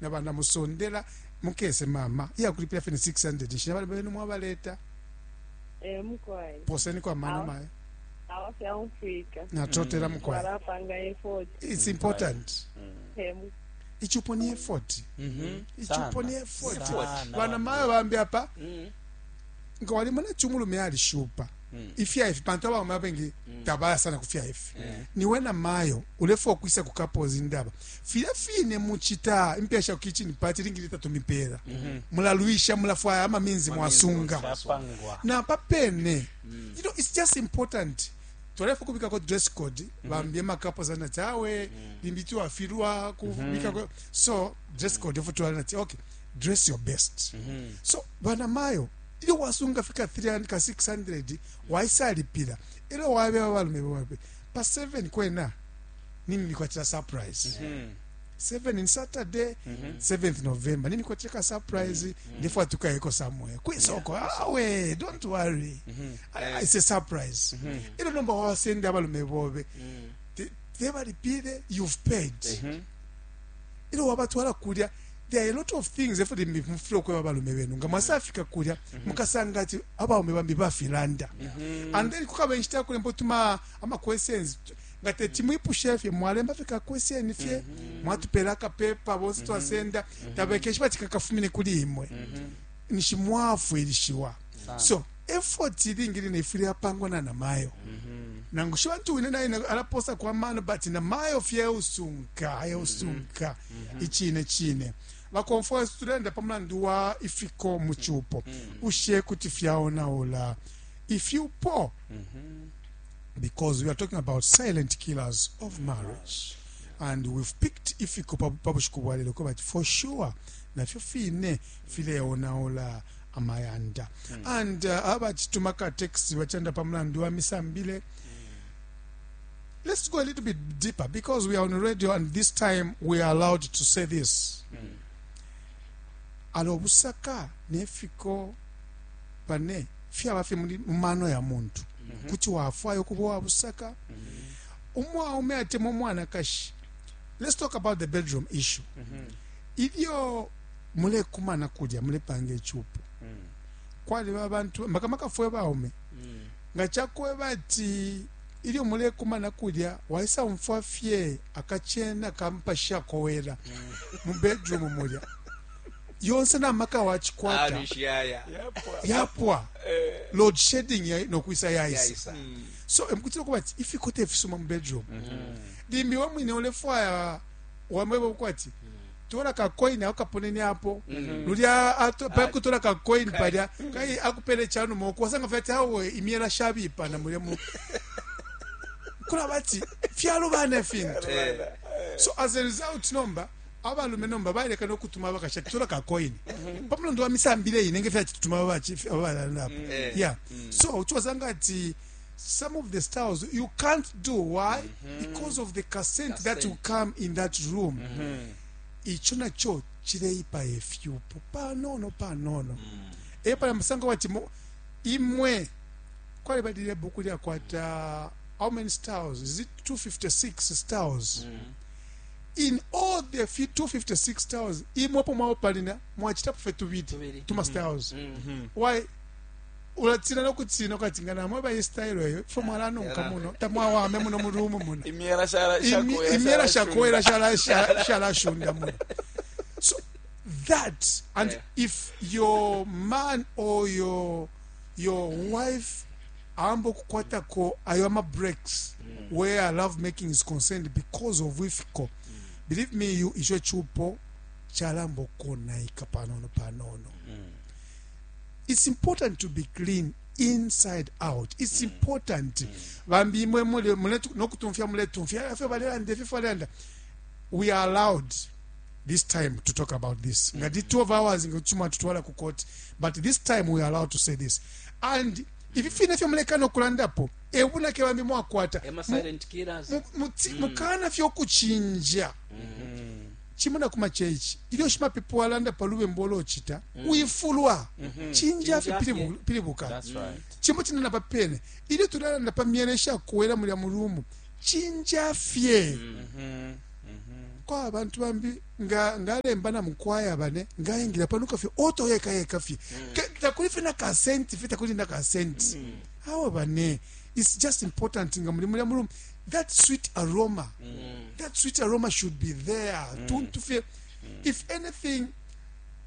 Na bana musondela mukese mama iyakulipila fye ni 600 nshi nabali benu mwabaleta. Eh, mukwai. Poseni kwa mano mayo. Awa fyaumfwika. Natotela mukwai. Twalapanga effort. It's important. Eh, mu- Ichupo ni effort. Ichupo ni effort. Sana. Bana mayo bambi apa nga walimona chumulume alishupa ifya ifi pantu abaume abengi tabaya sana kufya ifi. Niwe na mayo ulefa okwisa ku couples indaba filya fine muchita impesha ku kitchen party lingi litatumipera mulalwisha mulafwaya ama means mwasunga Chapangwa. na papene. It's just important twalefa kubikako dress code bambye ma couples anati awe limbi tiwafilwa kubikako. So dress code efo twalanati, okay, dress your best. So bana mayo ilyo wasunga fika 300 ka 600 waisalipila ilyo wabe babalume babe pa 7 kwena nini nikwatira surprise 7 in Saturday, 7th November nini kwatira ka surprise ndifo tukayeko somewhere kwisoko. Awe, don't worry. Ah, it's a surprise. Ilo nomba wawasende abalume bobe tebalipile, you've paid. Ilo wabatwala kulya, there are a lot of things efo mufile okweba abalume benu nga mwasafika kulya mukasanga ati abaume bambi bafilanda. And then kukaba enshita yakulemba otuma ama questions nga tetimwipushe fye mwalemba fye ka question fye mwatupela akapepa bonse twasenda tabekeshi bati kakafumine kuli imwe nishi mwafwilishiwa. So effort ilingi line ifwile yapangwa na namayo nangu shi bantu wine naye alaposa kwa mano, but namayo fye usunka eusunka ichine chine bakomfwa. Tulenda pamulandu wa ifiko mu chupo ushe kuti fyaonaula ifyupo because we are talking about silent killers of marriage and we've picked ifiko pa bushiku bwa lelo but for sure nafyo fine fileonaula amayanda. And abachituma ka text bachanda pamulandu wa misambile. Let's go a little bit deeper because we are on radio and this time we are allowed to say this. Alo busaka nefiko pane fyaba fye mu mano ya muntu kuti wafwayo kuba wa busaka umwaume atemwa umwanakashi. Let's talk about the bedroom issue. Ilyo mulekumana kulya mulepanga ichupo kwaliba abantu makamaka fwe baume nga chakweba ati ilyo mulekumana kulya waisa umfwa fye akachena kampasha kowera mu bedroom mulya yonse namaka wachikwata Alishaya. yapwa load shedding ya, nokwisa yaisa. Yaisa. So emukutira kuba ati ifikote ifisuma mu bedroom limbi we mwine ulefwaya wamweba ukwati tola ka coin ako kaponene apo lulya pakutola ka coin palya kai akupele chanuma uko wasanga fyati awe imyela shabipa na mulya mu kula bati fyalubana fintu. So as a result nomba abalume nomba baleka nokutuma abakasha tola ka coin pamulandu wa misambile ine nge fyachituma abalalanapo. Yeah, so uchwasanga ati some of the styles you can't do. Why? Because of the consent that will come in that room. Icho nacho chileipa efyupo panono panono epa musanga wati imwe kwali balile buku lyakwata how many styles is it? 256 styles. In all the 256 styles imwepo mwawo palina mwachitapo fe tubili Tubili. tuma styles. Why? Ulatsina nokutsina ukati nga namwe bayi style eyo fo mwalanunka muno tamwawame muno mu room muno. Imyela shala Imyela shakoera shalashunda muno. So that and if your man or your wife ambo kukwatako ayo ama breaks where love making is concerned because of ifiko, believe me you, icho chupo chalambo konaika panono panono. It's important to be clean inside out. It's important. Bambi imwe mule nokutumfya muletumfya afyo balelanda ifyo balelanda. We are allowed this time to talk about this nga di 12 hours ngachuma tutwala ku court, but this time we are allowed to say this. And ifi fine fyo mulekana okulandapo ebunake bambi mwakwata Ema silent killers. Mukana fyo kuchinja chimuna kuma chechi ilyo shimapepo walanda palube mbolo ochita uifulwa chinja fye Chinja fye. pilibuka. That's right. Chimbo chinena papene ilyo tulalanda pa myele shakuwela mulya mulumu chinja fye. Kwa abantu bambi nga ngalemba na mukwaya bane ngaingira panuka fye oto yeka yeka fye. Takuli fye na ka cent fye, takuli na ka cent. Awe bane, it's just important nga muli mulya mu room, that sweet aroma, that sweet aroma should be there. Tuntu fye, if anything,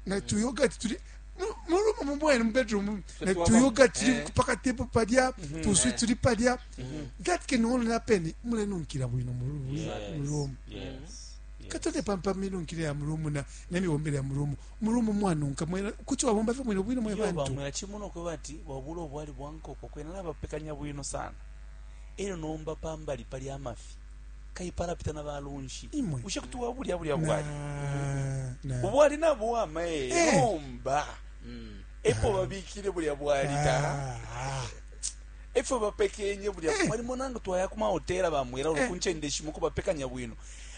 na tu yogurt tuli mu room mu mwene mu bedroom, na tu yogurt tuli paka table palya, tu sweet tuli palya. That can only happen mulenunkila bwino mu room. Katole pampa minunkile ya mu room na nemibombele ya mu room. Mu room mwanunka mwena kuti wabomba fye bwino bwino mwe Iyo bantu. Bamwela chimuno kwe bati wabula obwali bwa nkoko kwena nabapekanya bwino sana, elyo nomba pambali pali amafi kaipalapita na balunshi. Imwe. Ushe kuti wabulya bulya bwali Na na ubwali nabuwama e nomba epo babikile bulya bwali ta efyo bapekenye bulya mwalimo nange twaya ku mahotela bamwela ulo kunchende shimo ko bapekanya bwino,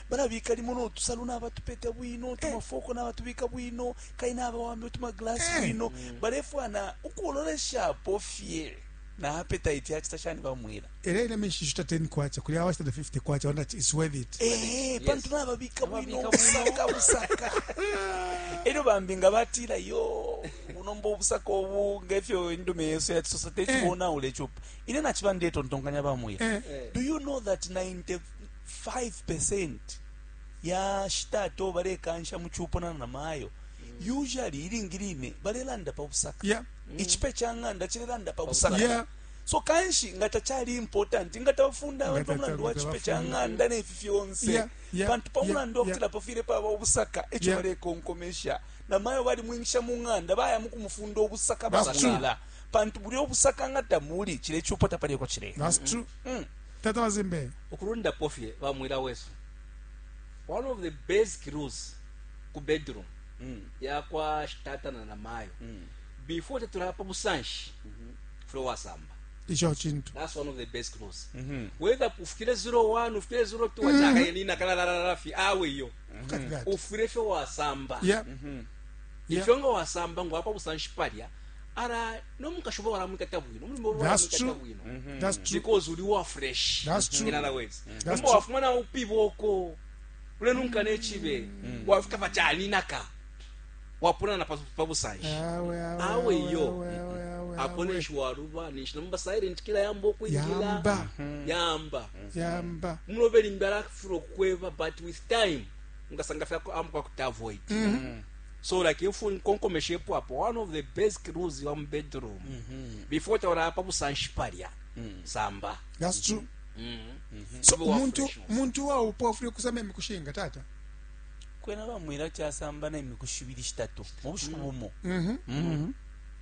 balabika limo notusalu nabatupeta bwino, tumafoko nabatubika bwino, kai nabawambe utumaglasi bwino, balefwana ukuloleshapo fye na appetite yachita shani bamwela? Era ine mishishuta 10 kwacha kuli awashita 50 kwacha wanda it's worth it. Eh, pantu nababika bwino. Nababika. Busaka busaka elyo bambi nga batila yo bunomba obusaka obu ngefyo indume yesu yatisosa techibonaula echupa ine nachiba ndetontonkanya bamwira. Do you know that 95% ya shitato balekansha muchupo na namayo usually ilingi line balelanda pa busaka? Ichipe cha ng'anda chilelanda pa busaka. So kanshi nga tachali important nga tabafunda abantu pamulandu wa chipe cha ng'anda nefi fyonse pantu pamulandu wakutila pafwile paba obusaka echo balekonkomesha namayo balimwingisha mu ng'anda baya mukumufunda obusaka. That's true. Bamwila pantu buli obusaka nga tamuli chile chupo tapaleko chile. That's true. Tata Mazimbe. Ukulundapo fye bamwila wesu, one of the basic rules ku bedroom yakwa shitata na namayo, before tetulapa busanshi fule wasamba. Icho chintu. That's one of the basic rules, whether ufikile 01 ufikile 02 wachakayenina kalalalala fi awe iyo. Look at that. Ufile fye wasamba. Ifyo nga wasamba ngwapa busanshi palya ara nomukashuba walamwikata bwino omulimo. That's walamwikata true. bwino That's true. because uli wa fresh. That's true. In other words, That's nomba true. wafumana upiba oko ulenunka nechibe wafika pachaninaka wapuna na pabusanshi. Awe, awe, Awe awe, yo. awe, awe, awe, Apo awe. ninshi waluba ninshi nomba silent kila yamba okwingila. Yamba. Yamba. Yamba. Mulobe limbi alafuna okukweba, but with time ngasanga fyako amuka kuti avoid. So like if nkonkomeshepo apo, one of the basic rules wa mu bedroom, before taura pa busanshi palya, samba. That's true. So Ube wa muntu fresh. muntu waupo afune kusamba emikushinga tata. Kwena bamwila chasamba na emikushi ibili shitatu mu bushiku bumo.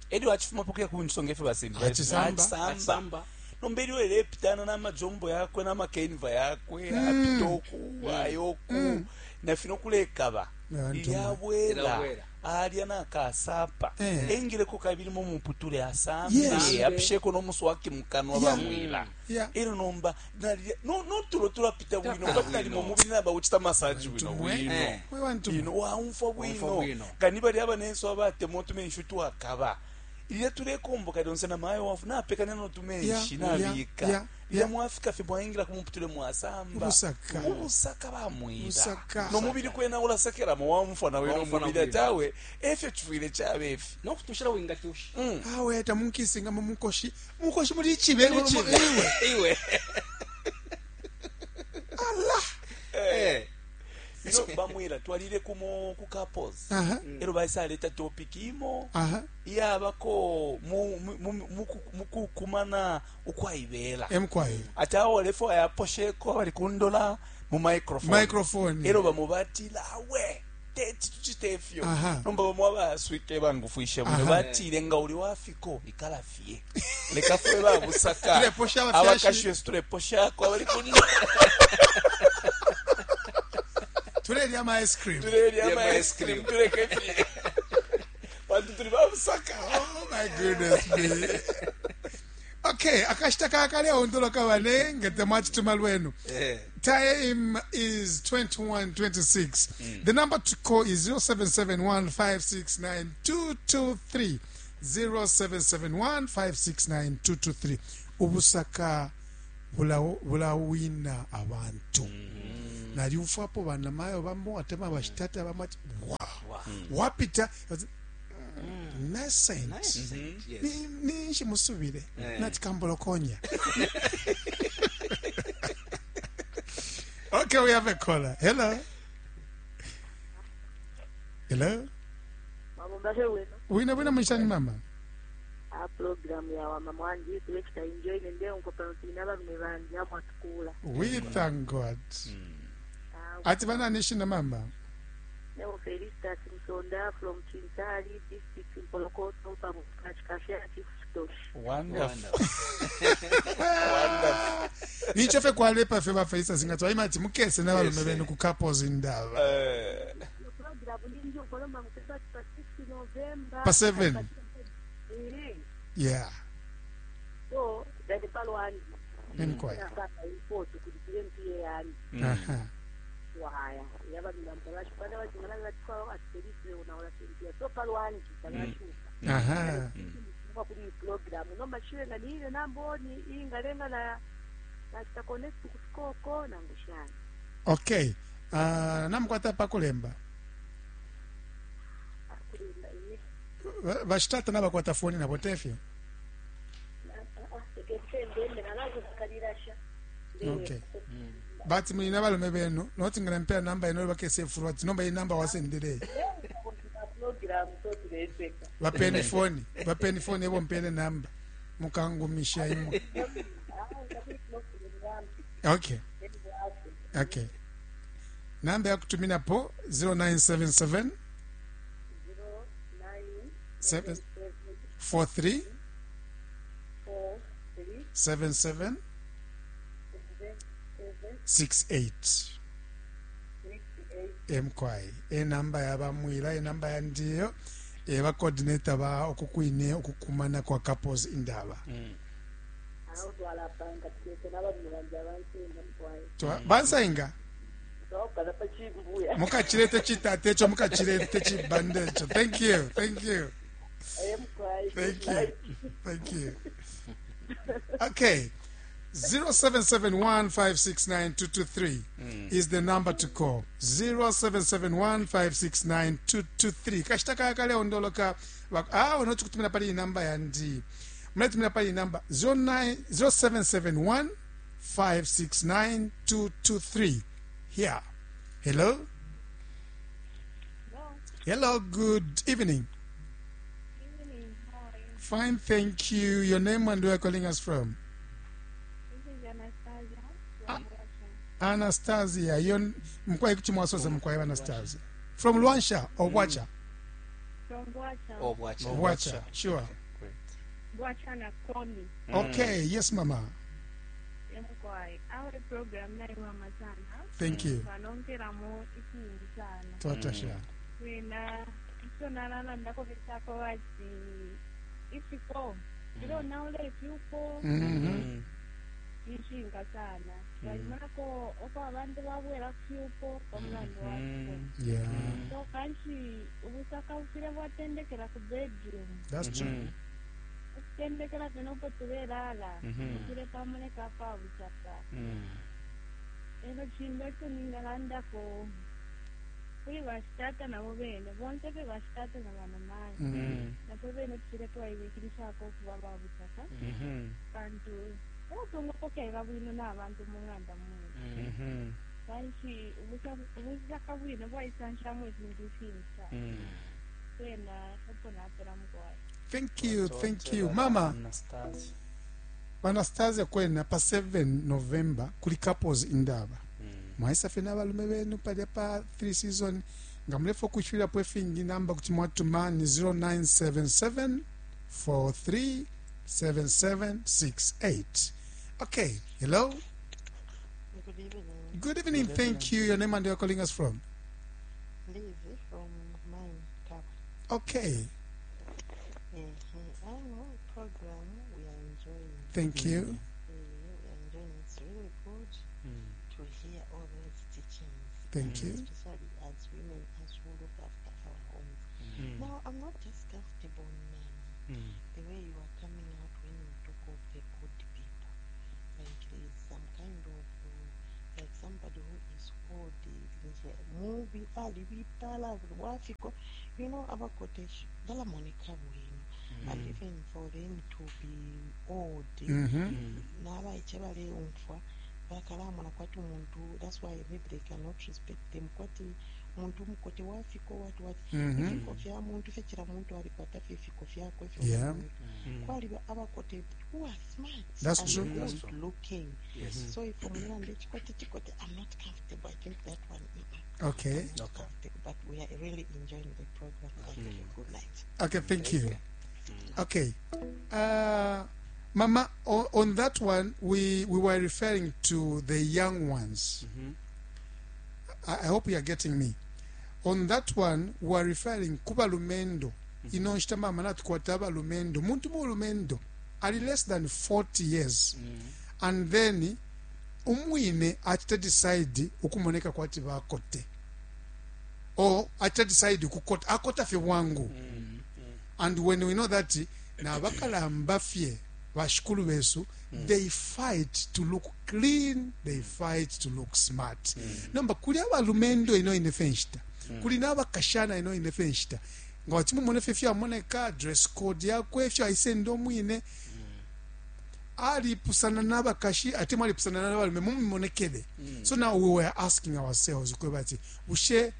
Elyo achifumapo kuya kunsonga efyo basembi. Achisamba. Achisamba nomba elyo elepitana n'amajombo yakwe n'amakenva yakwe apita oku ayoku nafino kulekaba. Abantu. Ilyabwela Ilabwela. alya nakasapa engileko kabili mu muputule asambe apisheko n'omuswaki mukanwa bamwila. Elyo nomba notulo tulapita bwino. Tulapita Kapita limo bwino. mubili nabawuchita masaji bwino Mwe. bwino. Mwe bantu. Ino waumfwa Waumfwa bwino. bwino. Kani bali abanenso abatema otumenshi twakaba ilya tulekomboka lyonse namayo wafu napekanya notumenshi nabika lilya mwafika fye mwaingila kumuputule mwasamba. Ubusaka. Ubusaka bamwila. Ubusaka. Nomubili kwena ulasekeramo wamfwa nawe Wamfwa nomubili na ati awe efyo chifwile chabefi. Nokutushira wingatusha. Awe tamunkisinga mu mukoshi. Mukoshi muli ichibe. Iwe. Iwe. Allah. Ino bamwila twalile kumo ku couples elyo baisaleta topic imo iyabako mukukumana ukwaibela. Emkwaye. Ati awo lefo ayaposheko abali kundola mu microphone. Microphone. Elo bamo batila awe teti tuchite ifyo. Nomba bamo abaswike bangufwishe bwino batile nga uli wafiko ikala fye leka fwe babusaka. Tuleposha abafyashi. Abakashi yesu tuleposhako abali kundola. Tulelya ama ice cream. Tulelya ama ama ice ice cream cream. tuleke fye pantu tuli babusaka. Oh my goodness me. Okay, akashita kakale ondoloka bane nga temwachituma lwenu. Time is 21:26. The number to call is 0771569223. 0771569223. Ubusaka bulawina abantu. Nalyumfwapo banamayo bamo atemwa bashitata bamo ati wow. Wapita nascent. Nice. Yes. Ninshi musubile Eh. nati kambolokonya. Okay, we have a caller. Hello. Hello. Mabomba wena. Wina wina mwishani mama. A program ya wamama wanji tulekita enjoy nende nkopano tina balume bandi amwe atukula. We thank God. Ati bana nishina mama. Neo Felicitas Msonda from Chinsali district Mpolokoto pamukachikafya Chief Stosh. Wonderful. Wonderful. Nicho fe kwalepa fe bafaisa singatwa imati mukese n'abalume benu ku couples indaba. Eh, Program ndinjo kolomba mukeba pa 6 November. Pa 7. Eh. Yeah. So, dali palwandi. Nimkwai. Sasa ipoto kulipile mpiye yani. Aha. Wahaya. Yaba milambo bashipana bajingana batwa atiselise unaola sempia. So palwandi talashuka. Aha. Kuba kuri program nomba shile nga niile namboni ingalenga na na connect kusikoko nangushana. Okay. Namukwata pakulemba. Akulinda ine. Bashitata nabakwata foni nabo tefyo. Ekesembembe nalazo kalirasha. Okay. But mulina balume benu noti ngala mpera namba ino bakese furu ati nomba iyi namba wasendere. Program so tuleseka. Bapeni foni, bapeni foni ebo mpele namba. Mukangumisha imwe. Okay. Okay. Namba ya kutumina po 0977 7 43 77 68 mky enamba yabamwila enamba yandiyo eba coordinator ba okukwine okukumana kwa couples indaba. Aho twalapanga tulese n'abalume banje abansenga mutwaye. Bansainga Twakala pachimbuya. mukachilete chitate echo mukachilete chibande echo. Thank you, thank you. Mutwaye. Thank you. Thank you. Okay. 0771569223 is the number to call. 0771569223. Kashita kaya kale ondoloka. Unoti kutumira pali namba yandi. Mnatumira pali namba 09 0771 569223. Here. Hello. Hello, good evening. Evening, how are you? Fine, thank you. Your name and where you're calling us from? This is Anastasia from Russia. Anastasia. Your mkwai kuchimwasosa mkwai Anastasia. From Luansha or Wacha? From Bwacha. Oh, Bwacha. Wacha, sure. Great. Bwacha na Komi. Okay, yes mama. Mkwai. Our program naiwama sana. Thank you. Vanongeramo ifingi sana. Twatasha. Wena ichonalala ndakovesako vati ifiko. Ilonaula ifyuko. Mhm. Ishinga sana. Valimako oko abantu babwera kufyuko pamulandu wafiko. Yeah. So kanshi ubusaka bufire bwatendekera ku bedroom. That's true. Okutendekera fena upo tulelala. Bufire pamuleka pa busaka. Eno chindu ekyo ningalandako kuli bashitata nabo bene bonse fe bashitata na banamayi nabo bene tufire twayibikirisako okuba babusaka bantu batungapokera bwino n'abantu mu nganda mwene kanshi ubusaka bwino bwayisanshamu ebintu bifingi sana kwena opo napera mukwayi. Thank you, thank you. Mama Anastasia. Anastasia kwena pa 7 November kuli couples indaba. Mwaisa fena abalume benu palya pa 3 season nga mulefa okushwirapo efingi namba kuti mwatuma ni 0977 43 7768. Okay, hello. Good evening. Good evening, thank you. Your name and where you're calling us from? Liz from Mine Tap. Okay, I know program we are enjoying. thank you. We are enjoying. It's really good to hear all those teachings. Thank you. Especially as women, as we look after our homes. Now, I'm not just comfortable now. The way you are coming out when you talk of the good people. Like there is some kind of, like somebody somebody who is old nje mubi alibipala wafiko you know abakote balamoneka bwino and even for them to be old nabaiche baleumfwa bakalamona kwati umuntu that's why maybe they cannot respect them kwati umuntu umukote wafiko wati wati ifiko fya muntu fye cila muntu alikwata fye ifiko fyakwe ifyo kwaliba abakote who are smart That's and true. good That's true. looking Yes. so if umulanda chikote chikote i'm not comfortable i think that one mm-mm, Okay. I'm not comfortable but we are really enjoying the program thank you good night Okay, thank you. Okay. Mama, on that one, we were referring to the young ones. I hope you are getting me. On that one, we are referring kubalumendo. Ino nshita mama natukwata abalumendo. Muntu mulumendo ali less than 40 years. And then umwine achita decide ukumoneka kwati bakote. Or achita decide kukota akota fye bwangu. And when we know that na bakalamba fye bashikulu besu they fight to look clean they fight to look smart nomba kuli abalumendo ino ine fye nshita kuli n'abakashana ino ine fye nshita nga wachimumone fye fyamoneka dress code yakwe ifyo aisenda omwine alipusana n'abakashi ate mwalipusana n'abalume mumimonekele so now we were asking ourselves kweba ati bushe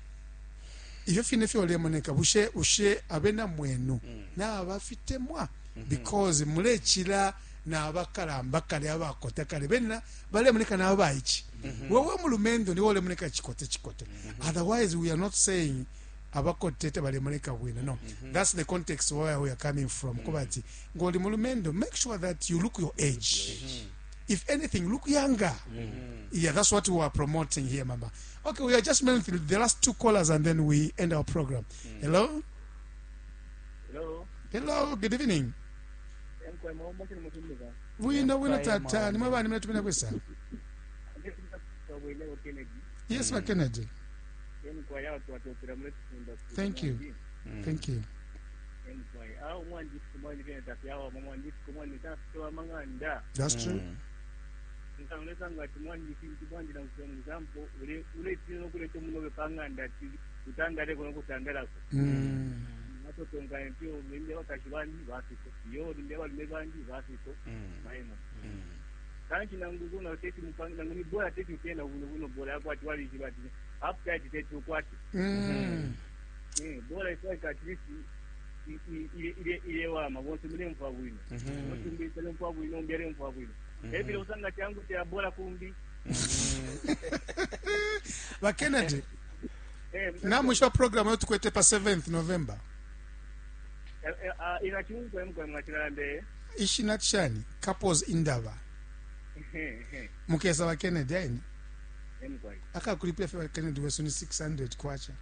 ifyo fine fyolemoneka bushe bushe abena mwenu nabafitemwa because mulechila nabakalamba kale abakota kale bena balemoneka nabaichi wewe mulumendo niwe olemoneka chikote chikote otherwise we are not saying abakote tebalemoneka bwino no that's the context where we are coming from kuba ati ngoli mulumendo make sure that you look your age if anything look younger yeah that's what we are promoting here mama okay we are just making the last two callers and then we end our program hello Hello. hello good evening Emkwe mombo kini mutumika. bwino bwino tata nimwe bani mnatumina kwesa Wele Kennedy. yes ba kennedy Emkwe ya watu watopira mule tufunda. Thank you. Thank you Emkwe. Ah umwandi kumwandi kene tafyawa mwandi kumwandi tafyawa manganda. that's true Ntanglesa ngati mwandi kintu mwandi na example ule ule tino kule tomunobe panganda ti utangale kuno kutangalako. Matotonga mpyo minde wakashi bandi bafiko. Yo minde balume bandi bafiko. Maimo. Kanchi nangu na teti mupanga nangu ni bora teti utena buno buno bora yako ati wali jibati. Appetite teti ukwati. Bora ifika at least ile ile ile wama bonse mule mfa bwino. Otumbi tele mfa bwino mbere mfa bwino. Ebile usanga changu cha bora kumbi. ba kennedy namwisho program yo tukwete pa 7th november ina chungu emkwe mwachilambe. ishina chani couples indaba mukesa ba kennedy aini Emkwe. akakulipira fye ba kennedy wesu ni 600 kwacha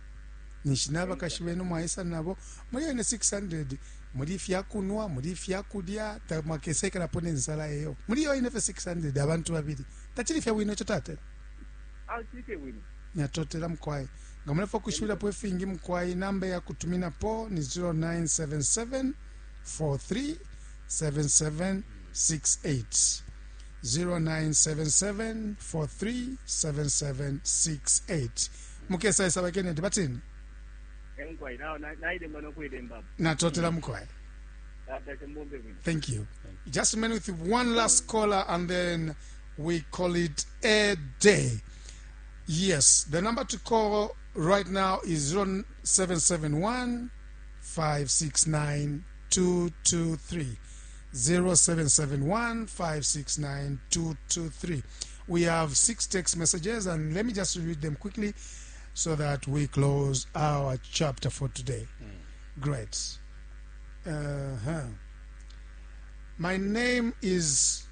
ninshi nabakashi benu mwaisa nabo muli ene 600 muli fyakunwa muli fyakulya tamwakesekelapo nensala eyo muli yo ine fye 600 abantu babili tachili fye bwino icho tate Ah chike bwino. nyatotela mkwai nga mulefa kushibirapo ifingi mkwai namba ya kutuminapo ni 0977 43 7768 0977 43 7768 mukesa ba kennedy batini Emkwe na na ile ngono kuidemba. natotela mkwai Tata chembombe bwino. Thank you. Just a minute with one last caller and then we call it a day. Yes, the number to call right now is 0771 569 223. 0771 569 223. We have six text messages and let me just read them quickly so that we close our chapter for today. Great. Uh-huh. My name is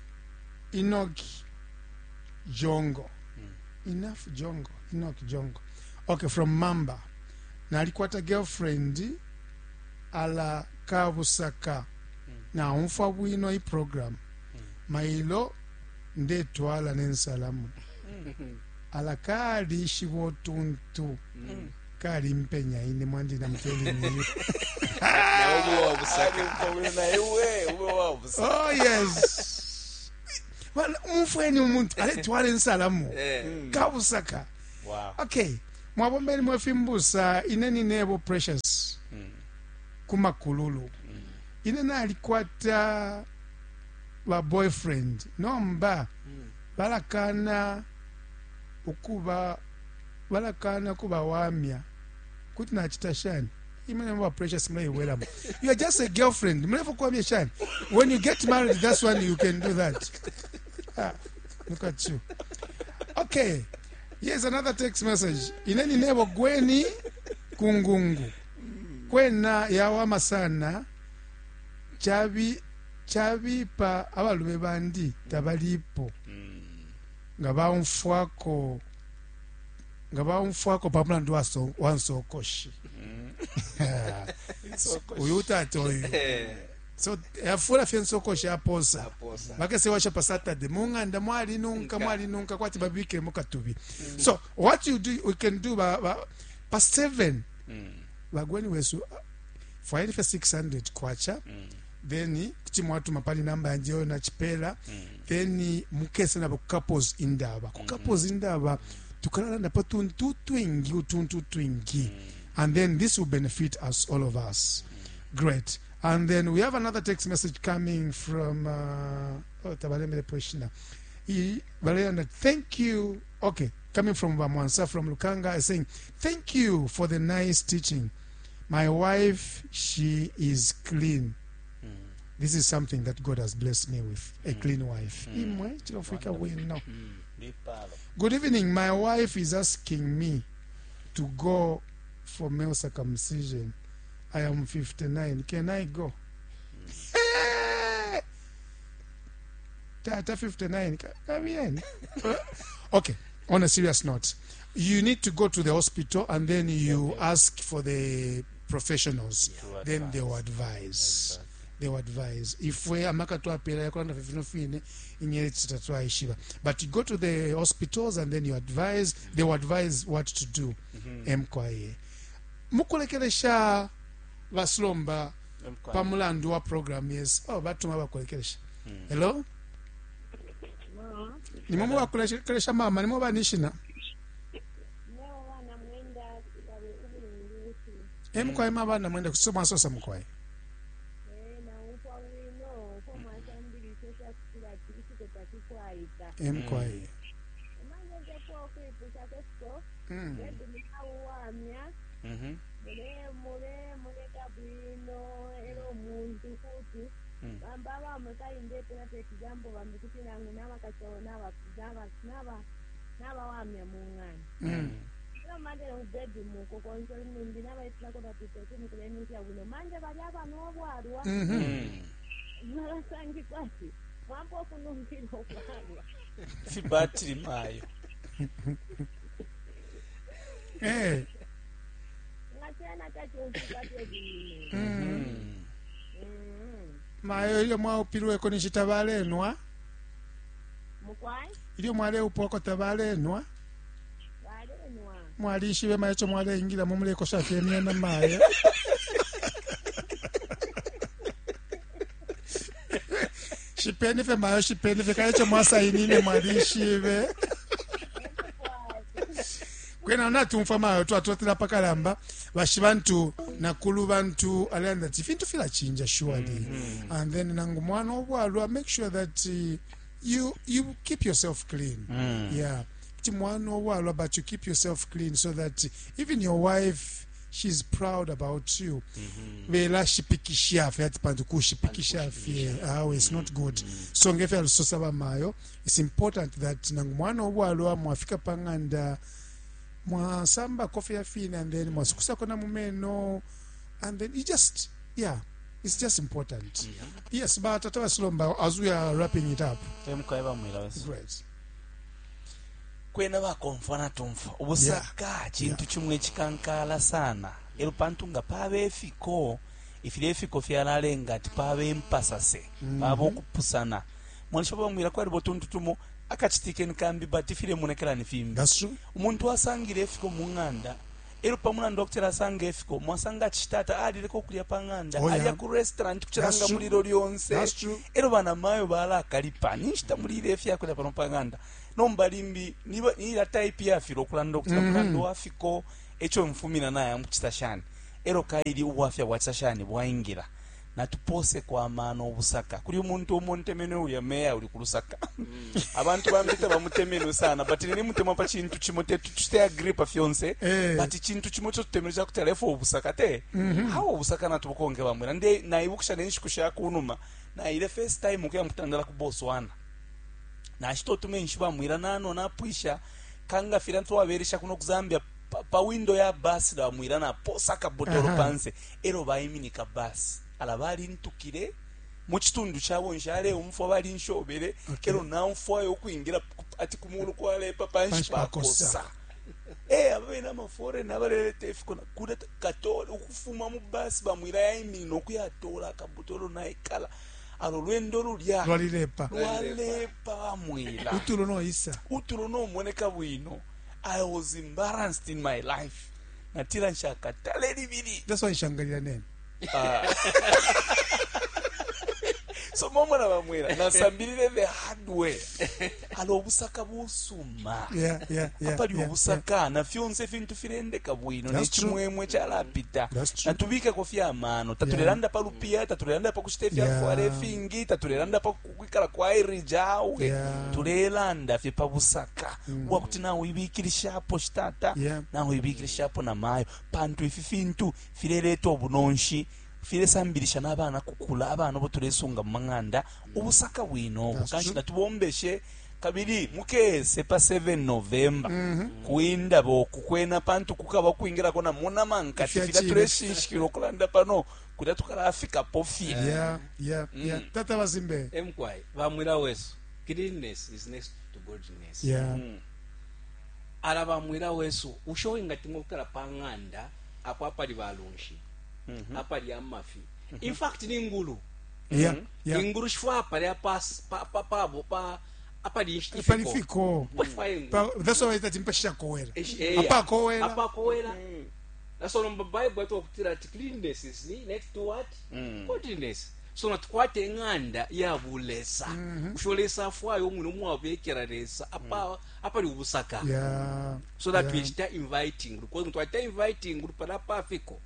Enoch Jongo. Enough Jongo. Enoch Jongo. Okay, from Mamba. Nalikwata girlfriend ala kabusaka. Na umfa bwino i program. Mailo ndetwala nensalamu. Ala kali shibotuntu. Kali mpenya ine mwandi na mteli niyo. Nawe ube wa busaka. Nawe ube wa busaka. Oh yes. Umfweni umuntu aletwala insalamu. Kabusaka. Wow. Okay. Mwabombeni mwefimbusa ine ninebo Precious. Kumakululu. Ine nalikwata ba boyfriend nomba balakana ukuba balakana kubawamya kuti nachita shani imene mwa Precious mleiwelamo. You are just a girlfriend, mlefu kuwamya shani. When you get married, that's when you can do that. Ah, look at you. Okay, here's another text message. Ineni nebo gweni kungungu kwena yawama sana chabi chabipa abalume bandi tabalipo nga baumfwako nga baumfwako pamulandu wa nsokoshi. Uyu tata uyu so yafula fye nsokoshi aposa bakese washa pa Saturday mung'anda mwalinunka mwalinunka kwati babikile mukatubi. So what you do, we can do ba, ba, pa 7 bagweni wesu fwaili fye 600 kwacha. Then kuti mwatuma pali namba yanje yo nachipela. Then mukese nabo couples indaba ku couples indaba tukalalanda pa tuntu twingi utuntu twingi, and then this will benefit us, all of us. Great. And then we have another text message coming from oh, Tabalemele Poshina. Valerian, thank you. Okay, coming from Bamwansa from Lukanga, is saying thank you for the nice teaching. My wife, she is clean. This is something that God has blessed me with, a clean wife. Imwe, chilofika wino. Good evening. My wife is asking me to go for male circumcision. I am 59. Can I go? Hey! Tata 59. Come in. Okay, on a serious note, you need to go to the hospital and then you ask for the professionals. To Then they will advise. advise. They will advise. If we amaka twapela yakulanda fifino inyere twaishiba. But you go to the hospitals and then you advise, they will advise what to do. MKA. Mukulekelesha baslomba pamulandu wa program, yes. Oh, batuma bakulekelesha. Hello? Nimwe mubakulekelesha mama, nimwe banishina. Leo wana mwenda kabe ubulungusi. Emkwaye mabana mwenda kusoma sosa mkwaye. Na umfwa wino ko mwasambili sosha kutila tisiko takikwayika. Emkwaye. Manje nje kwipusha kwesiko bedu mukawamya mule mule muleka bwino era omuntu kuti bamba bamwe kalindetera tekijambo bambi kuti nange nabakacawo nabawamya mung'ani. Ero manje nokubedu muko konso nimbi nabayitirako tatitekunikulenikya bwino manje bali abana obwalwa balasangikwa ati mwampa okunungira obwalwa. Fibatiri mayo. Eh. Nga kyena takyonfika tebwino. Mayo ilyo mwaupilweko ninshi tabalenwa. Mukwai Ilyo mwaleupwako tabalenwa. balenwa. Mwalishibe mayo ico mwaleingilamo mulekosha fye myena mayo. Shipeni fye mayo, shipeni fye kale ico mwasainine mwalishibe. Kwena natumfwa mayo twatotela pakalamba bashi bantu nakulu bantu alanda ati fintu filachinja surely. And then nangu mwana obwalwa, make sure that you keep yourself clean. Yeah, kuti mwana obwalwa, but you keep yourself clean so that even your wife, she's proud about you. Bela shipikisha fye ati pantu kushipikisha fye awe it's not good. So ngefe alusosa bamayo, it's important that nangu mwana obwalwa mwafika pang'anda mwasamba kofi ya fina and then mwasukusako na mumeno and then you just, yeah, it's just important. Yes, but Tata Basilomba, as we are wrapping it up. Emkwaye bamwira wese. Great. Kwena bakomfwa natumfwa ubusaka chintu chimwe chikankala sana ero pantu nga pabe efiko ifile efiko fyalalenga ati pabe empasase pabe okupusana mwanisha bamwira kwali botuntu tumo akachitike nkambi but ifile munekelani fimbi. That's true. Umuntu asangile efiko mu ng'anda Elo pa mulandu wa kutila asanga ifiko, mwasanga ati shitata alileka ukulya pa ng'anda, Oh, yeah. alya ku restaurant That's kucilanga true. mulilo lyonse. That's true. Elo banamayo balakalipa, ninshi tamulile ifyakulya pano pa ng'anda. Nomba limbi niba ila type yafilo ukulanda ukutila mulandu wa fiko eco mfumina naya mukucita shani. Elo kaili ubwafya bwacita shani bwaingila. Natupose amano ubusaka. Kuli umuntu umo ntemenwe ulya meya uli ku Lusaka. Abantu bambi tabamutemenwe sana, but nini mutemwa pa chintu chimo te tuchite agree pa fyonse. Eh. But chintu chimo cho tutemenwe chakuti alefo ubusaka te. Hawo ubusaka natubukonke bamwera. Nde naibukisha nenshiku sha kunuma. Naile first time ukuya mutandala ku Botswana. Nashita utumenshi bamwira nano napwisha kanga fila ntwaberesha kuno ku Zambia pa, pa window ya bus bamwira naposa akabotolo Aha. panse elo baiminika bus ala balintukile mu kitundu kyabo nshaleumfwa balinshobele. Okay. Elo namfwayo ukwingira ati kumulu kwalepa panshi Panshi pakosa. pakosa. Eh, ababene amaforeign abaleleta ifiko kuda katole ukufuma mu bus bamwira yaiminina okuyatola akabotolo naikala alo lwendo lulya Lwalilepa. lwalepa bamwira Utulo noisa. utulo nomoneka bwino. I was embarrassed in my life. Natila nshakatale libili. That's why nshangalira nene. So momona bamwira nasambilile the hard way. Alo obusaka busuma. Yeah. Apali yeah, obusaka na fyonse fintu filendeka bwino. That's true. Nechimwemwe chalapita. That's true. Natubikeko fyamano tatulelanda pa lupiya, tatulelanda pa kushita ifyafwala ifingi, tatulelanda pa kwikala kwa irijawe. Yeah. Tulelanda fye pa busaka bwakuti nawe ibikilishapo shitata, nawe ibikilishapo na mayo, pantu ifi fintu fileleta obunonshi, filesambilisha n'abana kukula abana bo tulesunga mu mang'anda ubusaka bwino obu. That's Kanshi true. natubombeshe kabili mukese pa 7 November kuindaba okukwena pantu kukaba kwingirako na munamankati Ifya fila chine. tuleshinshikila okulanda pano kulya tukalafikapo fye. Yeah. Tata bazimbe. Emkwai bamwira wesu, cleanness is next to godliness. Ala bamwira wesu ushowe ngati mukala pa ng'anda apo apali balunshi, apali amafi, in fact ni ngulu. Ingulu shifwa apali apa pa pa pa pa apali Apali fiko. Pashifwa ingulu. That's why ita timpasha kowera. Eya. Apakowera. Apakowera. That's all number Bible atwakutira ati cleanness is next to what? Godliness. So natukwate eng'anda ya bulesa. Usho lesa afwayo omwine omwabekera lesa apa apali ubusaka. So that we start inviting because twata inviting pala pafiko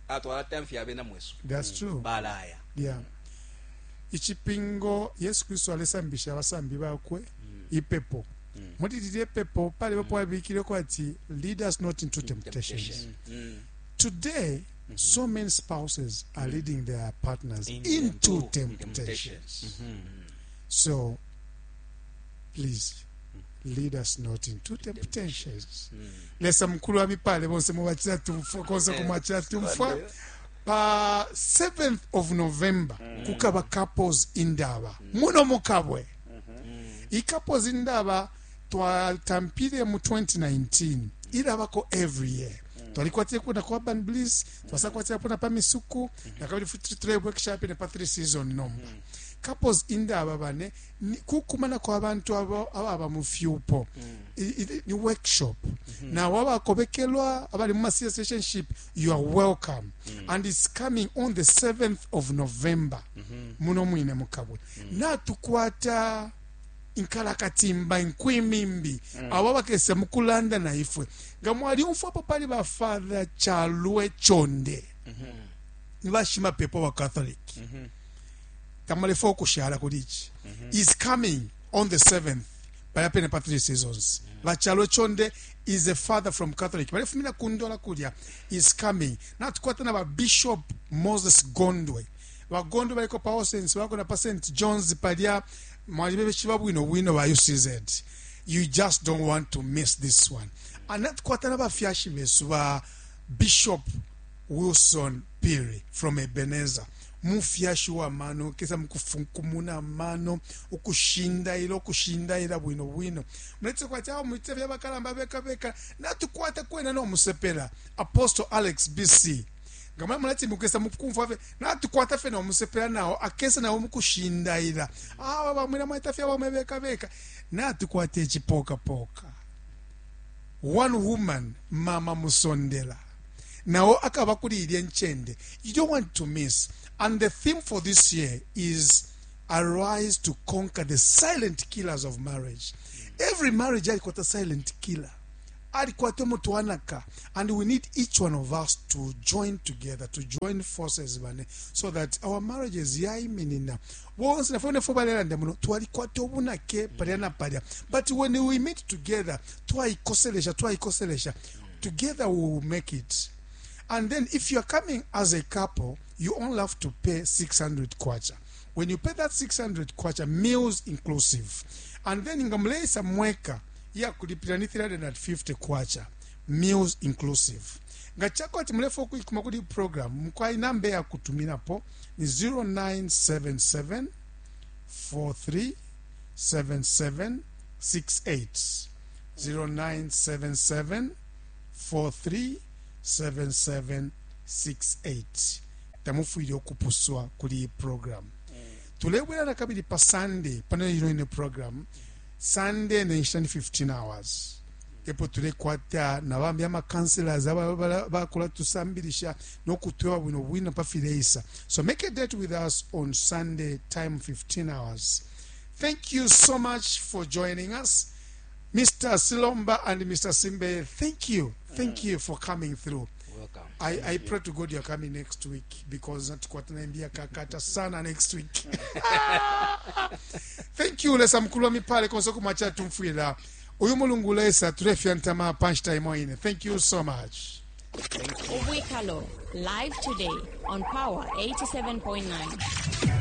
atwala tamfi abena mwesu. That's true. Balaya. Yeah. Ichipingo Yesu Kristo alesambisha abasambi bakwe ipepo. Muri lilye pepo pali bapo abikireko ati lead us not into temptations. Today so many spouses are leading their partners into temptation. So please lead us not into temptations. Lesa mukulu wa mipale bonse mubachira tumfwa konse kumwachira tumfwa. Pa 7th of November kukaba couples indaba muno mukabwe. I couples indaba twatampile mu 2019 ilabako every year. Twalikwatire kuna kwa Urban Bliss, twasakwatira kuna pa Misuku, nakabili futi tule workshop ne pa 3 season nomba. Couples indaba bane ni kukumana kwa bantu abo ababa mu fyupo. Ni workshop. Na wabakobekelwa abali mu serious relationship, you are welcome. And it's coming on the 7th of November. Muno mwine mukabwe. Natukwata inkalakatimba inkwimimbi abo bakese mukulanda na ifwe nga mwali umfwapo pali ba Father Chalwe Chonde ni bashimapepo ba Catholic tamalefo okushala kuli ichi is coming on the 7th palya pene pa 3 seasons. Bachalwe Chonde is a father from Catholic balefumina kundola kulya is coming. Natukwata na ba Bishop Moses Gondwe, bagondwe baliko pa Osens bako na pa St John's palya mwalibe chiba bwino bwino ba UCZ. You just don't want to miss this one. And natukwata na bafyashi besu ba Bishop Wilson Piri from Ebenezer, mufyashi wa mano kesa mukufunkumuna mano ukushindaila ukushindaila bwino bwino muletse kwati awo mwite vya bakalamba beka beka. Natukwata kwena no musepela Apostle Alex BC ngamwe mulati mukesa mukumva fe natukwata fe no musepela nawo akesa nawo mukushindaila awa bamwina mwaita fya bamwe beka beka. Natukwata echipoka poka one woman Mama Musondela. Nao akaba kuli ilye ncende. You don't want to miss. And the theme for this year is arise to conquer the silent killers of marriage. Every marriage alikwata silent killer, alikwata umutwanaka, and we need each one of us to join together, to join forces bane, so that our marriages yaiminina. Bonse nafwe nefwe balelanda muno twalikwata ubunake palya na palya, but when we meet together, twaikoselesha, twaikoselesha together, we will make it. And then if you are coming as a couple, you only have to pay 600 kwacha. When you pay that 600 kwacha, meals inclusive. And then nga muleisa mweka, yakulipira ni 350 kwacha, meals inclusive. Nga chako ati mulefo kuikuma kuli program, mukwai namba ya kutuminapo ni 0977 43 77 68, 0977 437768. Tamufwile ukupuswa kuli iyi program. Tulebwela na kabili pa Sunday pano ino ine program. Sunday ne nshita ni 15 hours, epo tulekwata na bambi ama counselors bakula tusambilisha no kutweba bwino bwino pa fileisa. So make a date with us on Sunday, time 15 hours. Thank you so much for joining us. Mr. Silomba and Mr. Simbe, thank you. Thank you for coming through. Welcome. I pray to God you're coming next week, because tukwatanaambia kakata sana next week. Thank you. Lesa mkulu wa mipale konso kumacha tumfwila. Uyu mulungu lesa tulefya ntama punch time ine. Thank you so much. Ubwikalo, live today on Power 87.9.